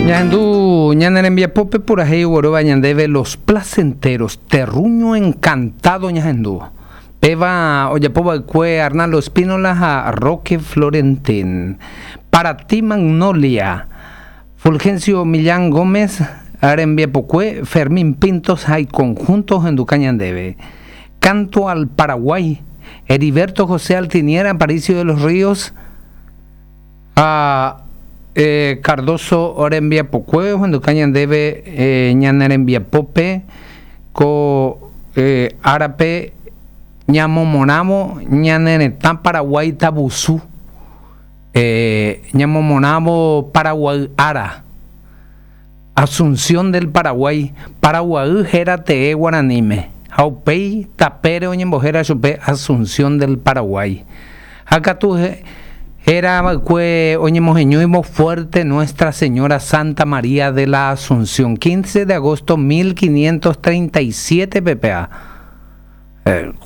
Ñahendu ñane rembiapópe purahéi oguerúva ñandéve Los Placenteros, Terruño Encantado ñahendu. Péva ojapova'ekue Arnaldo Espínola ha Roque Florentín. Para ti Magnolia, Fulgencio Millán Gómez rembiapokue, Fermín Pintos ha iconjunto ohenduka ñandéve. Canto al Paraguay, Heriberto José Altinier Aparicio de los Ríos ha Cardozo rembiapokue ohenduka ñandéve ñane rembiapópe ko árape ñamomorãvo ñane retã Paraguái tavusu, ñamomorãvo Paraguay ára, Asunción del Paraguay, Paraguay héra tee guaraníme ha upéi tapére oñembohéra chupe Asunción del Paraguay. Ha katu héra va'ekue oñemoheñóivo Fuerte Nuestra Señora Santa María de la Asunción, 15 de agosto 1537 ppa.